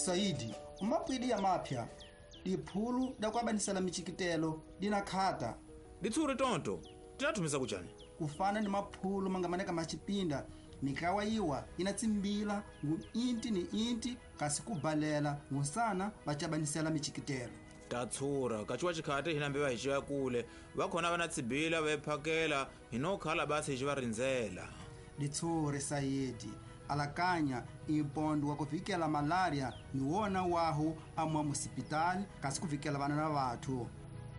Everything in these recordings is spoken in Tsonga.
Saidi umapwidi ya mapya diphulu dakuabanisela michikitelo dina khata Ditsuri tonto tinathumisa kuchani kufana ni maphulu mangamaneka macipinda mikawa iwa ina tsimbila ngu inti ni inti kasi kubalela ngunsana vacabanisela michikitelo Tatsura kachiwa chikhate hinambe vahixiva kule vakhona vana tsibila vephakela hinokhala basi hi va rindzela. Ditsuri Saidi alakanya impondo wa kuvikela malaria ni wona wahu amwa musipitali kasi kuvikela vana na vathu.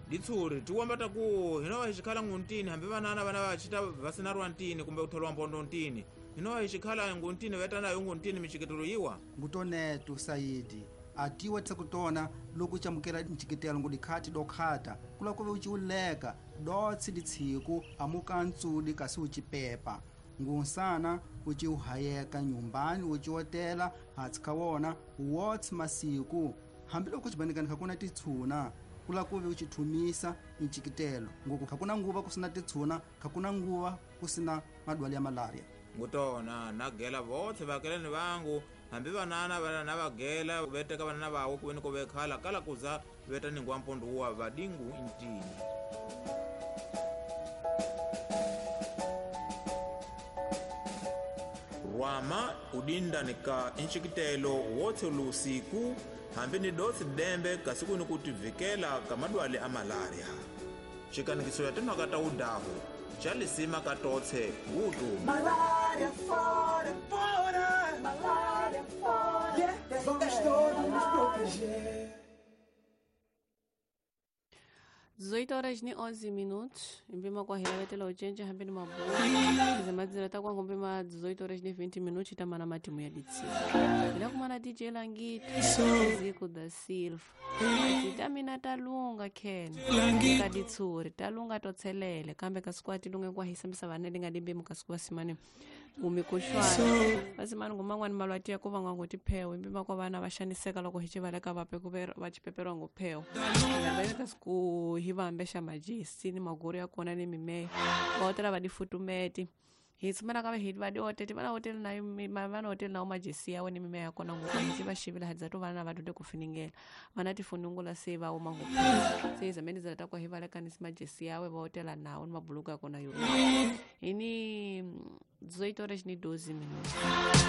Ditsuri tiwamba taku hinova hixikhala nguntini hambi vanana vana vachita vasinarwa ntini kumbe kutholwa mpondo ntini hinova hixikhala nguntini vetanayo nguntini michikitelo yiwa. Ngutonetu Saidi atiwa tsakutona loko chamukela nchikitelo ngudikhati dokhata kula kuve uchiuleka dotsi ditsiku amuka ntsudi kasi uchipepa ngunsana uchiuhayeka nyumbani uchiotela hatsi kawona wotsi masiku hambiloko chibanikani khakuna titshuna kula kuve uchithumisa nchikitelo ngoku khakuna nguva kusina titshuna khakuna nguva kusina madwali ya malaria. Ngutona nagela votse vakelani vangu hambi vanana vana vagela veteka vanana vawo kuveni ko vekhala kala kuza veta ningwa mpondo wa vadingu intini. Rwama udinda nika inchikitelo wotse lusiku hambi ni dotsi dembe kasiku ni kutivikela kamadwale a malaria. Chikanikiso ya timhaka ta udahu chalisima katotse utu. Malaria fora, fora, malaria fora. Yeah, vamos todos nos proteger. 18 horas e 11 minutos, mbima kwa hilavetela uchenje hambini mabuku zimadzira takwa ngumbima 18 horas e 20 minutos tamana matimu ya ditsi ila kumana DJ Langito Ziku da Silva titamina talunga ken kaditsuri talunga totselele kambe kasikwati lunge kwa hisambisa vanele ngadimbe mukasikuwa simane umikushwana vasimani ngumangwani malwati ya kuva ngwanguti phewu imbima kwa vana vaxaniseka loko hi civaleka vape kuve vacipeperwa nguphewu kasiku hi vambexa majesi ni maguru ya kona ni mimeya va hotela va difutumeti hi tsumela ka hi va diotete vana hoteli na vana hoteli na majesi yawe ni mimeya ya kona ngopfu hi va xivila hadza to vana va dyondze ku finingela vana tifunungula se va uma ngopfu se zameni za ta kwa hi valekanisi majesi yawe va hotela nawo ni mabuluku ya kona yo hi ni 18 horas ni 12 minutos.